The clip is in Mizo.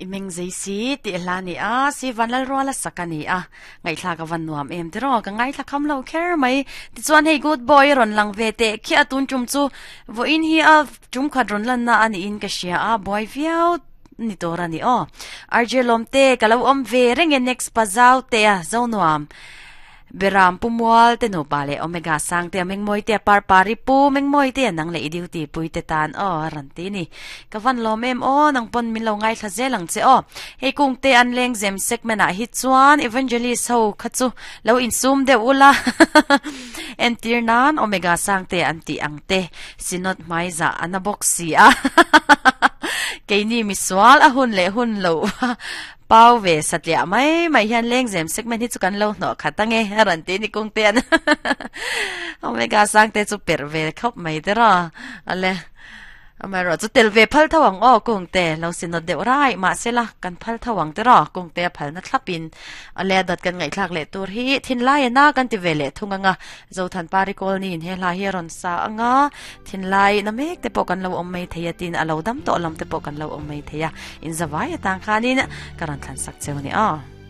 I meng zei si tih hla a ni a, si Vanlalruala sak a ni a, ngaihthlak a van nuam em tiraw, ka ngaithla kham lo kher mai. Tichuan hei good boy a rawn lang ve teh khiah a tun tum chu vawiin hi a tum khat rawn lanna a niin ka hria a, buai viau ni tur a ni aw. RJ Lawmte ka lo awm ve reng e next pa zau te a zo nuam. Beram Pu Mual te nupa leh Omega Sangte a Mengmawi te a Parpari Pu Mengmawi te a nang leh i duty pui te tan aw a rawn ti ni. Ka van lawm em aw nang pawn min lo ngaithla zel ang che aw. Hei kung te an lengzem segment ah hi chuan Evangelist ho kha chu lo insum deuh ula entir nan Omega Sangte an tih ang te Synod hmaizah a na bawk si a keini misual a hun leh hun loh Pau ve satliah mai mai hian lengzem segment hi chu kan lo hnawh khat ange a rawn ti ni kung te an Omega sang te chu perh ve khawp mai te raw ale amaherawh chu tel ve phal tho ang aw kung te lo sinawt deuh rai mahse la kan phal tho ang te raw kung te a phalna thlap in ale a dawt kan ngaihthlak leh tur hi thinlai a na kan ti ve leh thung anga Zothan Parikawl niin he hla hi a rawn sa anga Thinlai na mek te pawh kan lo awm mai thei a tin a lo dam tawh lam te pawh kan lo awm mai thei a, in zavai atang khanin ka rawn thlan sak cheu a ni aw.